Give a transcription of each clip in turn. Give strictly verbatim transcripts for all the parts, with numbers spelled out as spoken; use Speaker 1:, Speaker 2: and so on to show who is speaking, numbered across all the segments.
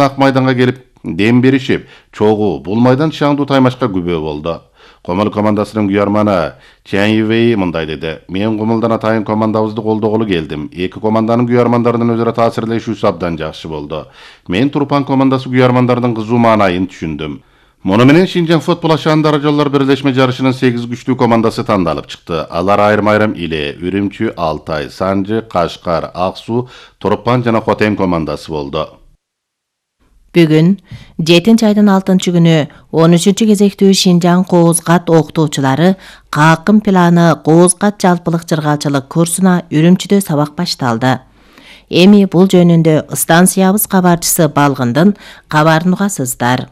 Speaker 1: ак майданга келип дем беришип, чогуу бул майдан шаңдуу таймашка күбө болду. Комол командасынын күйөрманы Чан Ювей мындай деди: "Мен Комолдон атайын командабызды колдоголу келдим. Эки команданын күйөрмандарынын өзара таасирлешүүсү абдан жакшы болду. Мен Турпан командасы күйөрмандарынын кызуу маанайын түшүндүм. Муну менен Шинжаң футбол ашаандары жоллор бирлешме жарышынын сегиз күчтүү командасы тандалып чыкты. Алар айрым-айрым Иле, Үрүмчү, Алтай, Санжы, Кашкар, Ак Суу, Турпан жана Хотем командасы болду.
Speaker 2: Бүгүн жетинчи айдын алтынчы күнү он үчүнчү кезектүү Шинжаң Кооз-Кат окутуучулары Каакын планы Кооз-Кат жалпылык жыргалчылык курсуна Үрүмчүдө сабак башталды. Эми бул жөнүндө станциябыз кабарчысы Балгындын кабарын угасыздар.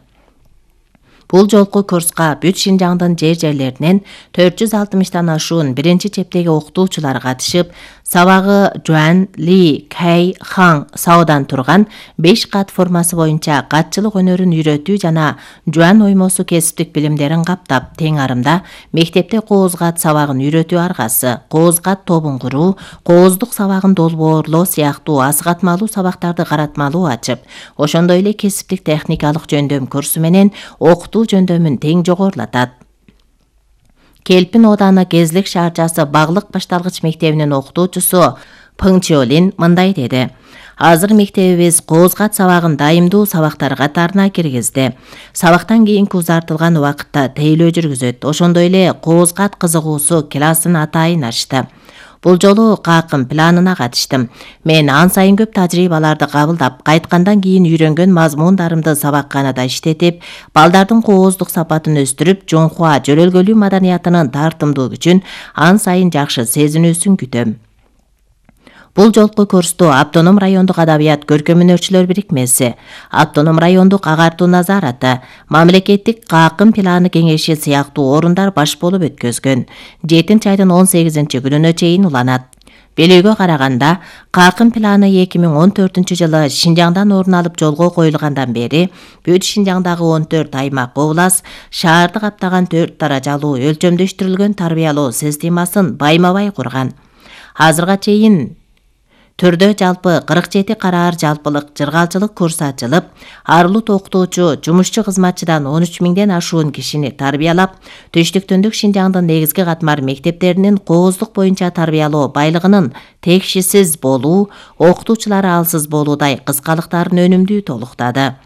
Speaker 2: Бул жолку курска бүт Шинжаңдын жер-жерлеринен төрт жүз алтымыштан ашуун биринчи чептеги окутуучулар катышып, сабагы Жуан, Ли, Кай, Хаң саудан турган беш кат формасы боюнча катчылык өнөрүн үйрөтүү жана Жуан оймосу кесиптик билимдерин каптап, тең арымда мектепте Кооз-Кат сабагын үйрөтүү аргасы, Кооз-Кат тобун куруу, кооздук сабагын долбоорлоо сыяктуу асыгатмалуу сабактарды каратмалуу ачып, ошондой эле кесиптик техникалык жөндөм курсу менен окутуу жөндөмүн тең жогорулатат. Келпин ооданы Кезлик шаарчасы Баглык башталгыч мектебинин окутуучусу Пың Чиолин мындай деди: "Азыр мектебибиз Кооз-Кат сабагын дайымдуу сабактар катарына киргизди. Сабактан кийинки узартылган убакытта тейлөө жүргүзөт. Ошондой эле Кооз-Кат кызыгуусу классын атайын ачты. Бул жолу Каакын планына катыштым. Мен ан сайын көп тажрыйбаларды кабылдап, кайткандан кийин үйрөнгөн мазмундарымды сабакканада иштетип, балдардын кооздук сапатын өстүрүп, Жоңхуа жөрөлгөлүү маданиятынын тартымдуу күчүн ан сайын жакшы сезинүүсүн күтөм." Бул жолку курсту Автоном райондук адабият көркөмөнөрчүлөр бирикмеси, Автоном райондук агартуу назараты, мамлекеттик Каакын планы кеңеши сыяктуу орундар баш болуп өткөзгөн. жетинчи айдын он сегизинчи күнүнө чейин уланат. Белүүгө караганда, Каакын планы эки миң он төртүнчү жылы Шинжаңдан орун алып жолго коюлгандан бери бүт Шинжаңдагы он төрт аймак, облас, шаарды каптаган төрт даражалуу өлчөмдөштүрүлгөн тарбиялоо системасын байма-бай курган. Азырга чейин түрдө жалпы кырк жети караар жалпылык жыргалчылык курсу ачылып, арылут окутуучу, жумушчу кызматчыдан он үч миңден ашуун кишини тарбиялап, Түштүк-Түндүк Шинжаңдын негизги катмар мектептеринин кооздук боюнча тарбиялоо байлыгынын текшисиз болуу, окутуучулары алсыз болуудай кыскалыктарын өнүмдүү толуктады.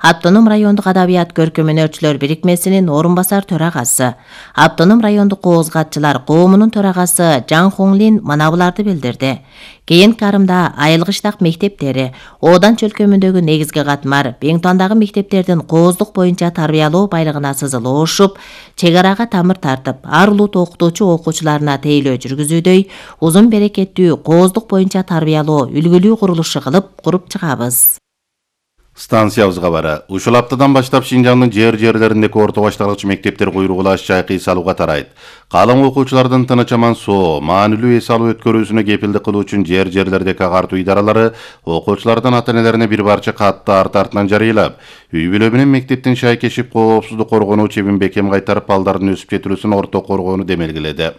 Speaker 2: Автоном райондук адабият көркөмөнөрчүлөр бирикмесинин орун басар төрагасы, Автоном райондук Кооз-Катчылар коомунун төрагасы Жан Хонглин мына буларды билдирди. Кийинки арымда Айылгыштак мектептери, Одан чөлкөмүндөгү негизги катмар, Беңтондагы мектептердин кооздук боюнча тарбиялоо байлыгына сызылышып, чек арага тамыр тартып, ар улут окутуучу окуучуларына тейлөө жүргүзүүдөй узун берекеттүү кооздук боюнча тарбиялоо үлгүлүү курулушу кылып куруп чыгабыз.
Speaker 1: Станциябыз кабары. Ушул аптадан баштап Шинжаңдын жер-жерлериндеги орто башталгыч мектептер куйругула чайкы эс алууга тарайт. Калың окуучулардын тыныч аман соо, маанилүү эс алуу өткөрүүсүнө кепилдик кылуу үчүн жер-жерлердеги агартуу идаралары окуучулардын ата-энелерине бир парча катты арт артынан жарыйлап, үй бүлө менен мектептин шайкешип коопсуздук коргонуу чебин бекем кайтарып, балдардын өсүп жетилүүсүн орто коргоону демелгиледи.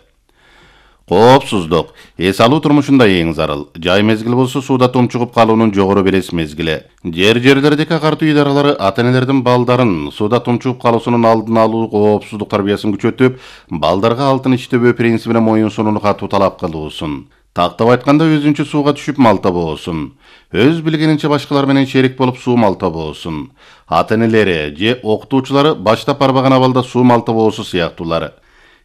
Speaker 1: Коопсуздук эс алуу турмушунда эң зарыл. Жай мезгил болсо сууда тумчугуп калуунун жогору белес мезгили. Жер-жерлердеги агартуу идаралары ата-энелердин балдарын сууда тумчугуп калуусунун алдын алуу коопсуздук тарбиясын күчөтүп, балдарга алтын иштебөө принцибине моюн сунууну катуу талап кылуусун. Тактап айтканда өзүнчө сууга түшүп мал табуусун. Өз билгенинче башкалар менен шерик болуп суу мал табуусун. Ата-энелери же окутуучулары баштап барбаган абалда суу мал табуусу сыяктуулары.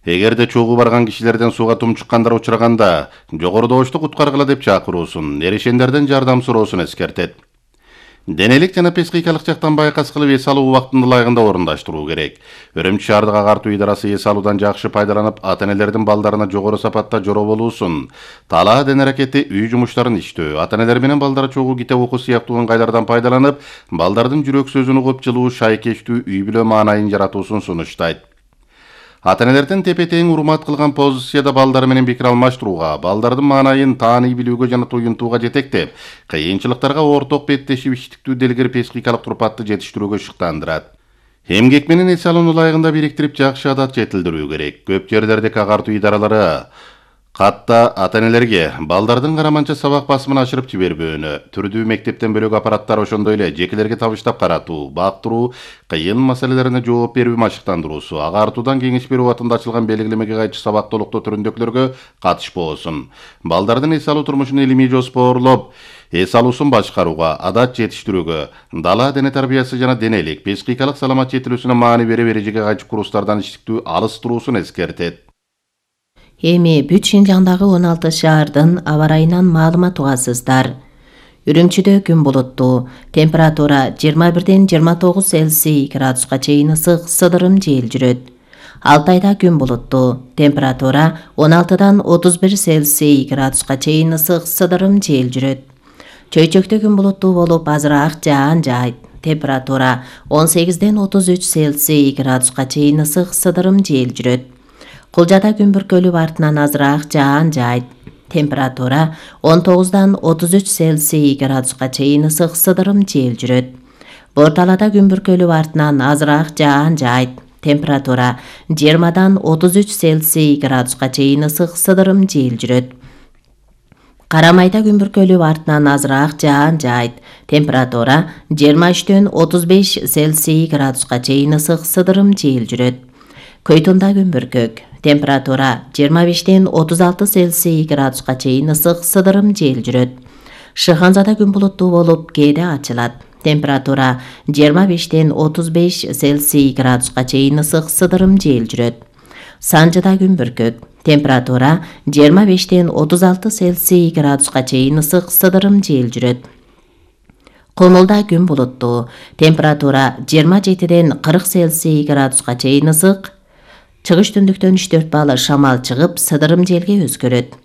Speaker 1: Эгерде чогуу барган кишилерден сууга тумчуккандар учураганда, жогорудогучту куткаргыла деп чакыруусун, эрешендерден жардам суроосун эскертет. Денелик жана психикалык жактан байкас кылып эс алуу убактында ылайыгында орундаштыруу керек. Үрүмчү шаардык агартуу идарасы эс алуудан жакшы пайдаланып, ата-энелердин балдарына жогору сапатта жороо болуусун, талаа ден аракети үй жумуштарын иштөө, ата-энелер менен балдар чогуу китеп окуу сыяктуу ыңгайлардан пайдаланып, балдардын жүрөк сөзүн угуп, жылуу, шайкештүү үй бүлө маанайын жаратуусун сунуштайт. Ата-энелердин тепе-тең урмат кылган позицияда балдар менен пикир алмаштырууга, балдардын маанайын тааный билүүгө жана туюнтууга жетектеп, кыйынчылыктарга орток беттешип иштиктүү делгер психикалык турпатты жетиштирүүгө шыктандырат. Эмгек менен эс алууну ылайыгында бириктирип, жакшы адат жетилдирүү керек. Көп жерлердеги агартуу идаралары Катта ата-энелерге балдардын караманча сабак басымын ашырып жибербөөнү, түрдүү мектептен бөлөк аппараттар ошондой эле жекелерге табыштап каратуу, бактыруу, кыйын маселелерине жооп берүү машыктандыруусу, агартуудан кеңеш берүү атында ачылган белгилемеге кайчы сабак толуктоо түрүндөгүлөргө катышпоосун. Балдардын эс алуу турмушун илимий жоспорлоп, эс алуусун башкарууга, адат жетиштирүүгө, дала дене тарбиясы жана денелик, психикалык саламат жетилүүсүнө маани бере эрежеге кайчы курстардан иштиктүү алыс туруусун эскертет.
Speaker 2: Эми бүт Шинжаңдагы он алты шаардын аба ырайынан маалымат угасыздар. Үрүмчүдө күн булуттуу, температура жыйырма бирден жыйырма тогуз Цельсий градуска чейин ысык, сыдырым жел жүрөт. Алтайда күн булуттуу, температура он алтыдан отуз бир Цельсий градуска чейин ысык, сыдырым жел жүрөт. Чөйчөктө күн булуттуу болуп, азыраак жаан жаайт. Температура он сегизден отуз үч Цельсий градуска чейин ысык, сыдырым жел жүрөт. Кулжада күн бүркөлүп артынан азыраак жаан жаайт. Температура он тогуздан отуз үч Цельсий градуска чейин ысык, сыдырым жел жүрөт. Борталада күн бүркөлүп артынан азыраак жаан жаайт. Температура жыйырмадан отуз үч Цельсий градуска чейин ысык, сыдырым жел жүрөт. Карамайда күн бүркөлүп артынан азыраак жаан жаайт. Температура жыйырма үчтөн отуз беш Цельсий градуска чейин ысык, сыдырым жел жүрөт. Көйтүндө күн бүркөк. Температура жыйырма бештен отуз алты Цельсий градуска чейин ысык, сыдырым жел жүрөт. Шыханзада күн булуттуу болуп, кээде ачылат. Температура жыйырма бештен отуз беш Цельсий градуска чейин ысык, сыдырым жел жүрөт. Санжыда күн бүркөк. Температура жыйырма бештен отуз алты Цельсий градуска чейин ысык, сыдырым жел жүрөт. Комулда күн булуттуу. Температура жыйырма жетиден кырк Цельсий градуска чейин ысык. Чыгыш түндүктөн үч төрт баалы шамал чыгып, сыдырым желге өзгөрөт.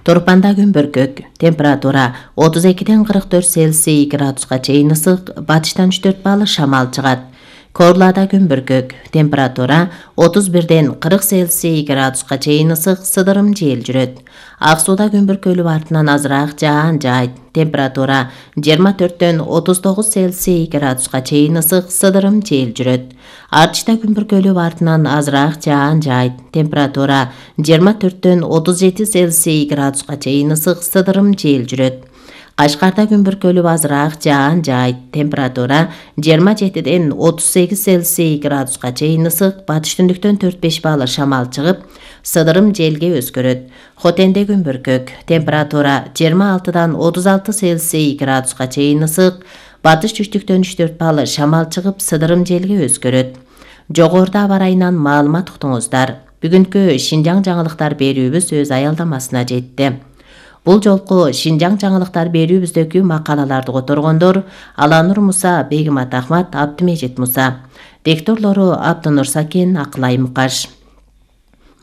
Speaker 2: Торпанда күн бүркөк. Температура отуз экиден кырк төрт Цельсий градуска чейин ысык, батыштан үч төрт баалы шамал чыгат. Корлада күн бүркөк. Температура отуз бирден кырк Цельсий градуска чейин ысык, сыдырым жел жүрөт. Ак сууда күн бүркөлүп артынан азыраак жаан жаайт. Температура жыйырма төрттөн отуз тогуз Цельсий градуска чейин ысык, сыдырым жел жүрөт. Артышта күн бүркөлүп артынан азыраак жаан жаайт. Температура жыйырма төрттөн отуз жети Цельсий градуска чейин ысык, сыдырым жел жүрөт. Кашкарда күн бүркөлүп азыраак жаан жаайт. Температура жыйырма жетиден отуз сегиз Цельсий градуска чейин ысык, батыш түндүктөн төрт беш баалы шамал чыгып, сыдырым желге өзгөрөт. Хотенде күн бүркөк. Температура жыйырма алтыдан отуз алты Цельсий градуска чейин ысык, батыш түштүктөн үч төрт баалы шамал чыгып, сыдырым желге өзгөрөт. Жогоруда аба ырайынан маалымат уктуңуздар. Бүгүнкү Шинжаң жаңылыктар берүүбүз өз аялдамасына жетти. Бул жолку Шинжаң жаңылыктар берүүбүздөгү макалаларды которгондор Аланур Муса, Бегимат Ахмат, Абдымежит Муса. Дикторлору Абдынур Сакен, Акылай Мукаш.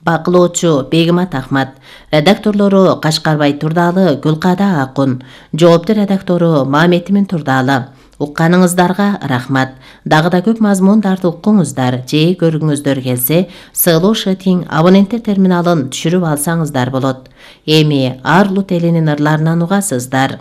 Speaker 2: Бакылоочу Бегимат Ахмат. Редакторлору Кашкарбай Турдалы, Гүлкада Акун. Жоопту редактору Маметимин Турдалы. Укканыңыздарга рахмат. Дагы да көп мазмундарды уккуңуздар, же көргүңүздөр келсе, сыйлуу шытиң абоненттер терминалын түшүрүп алсаңыздар болот. Эми Арлу телинин ырларынан угасыздар.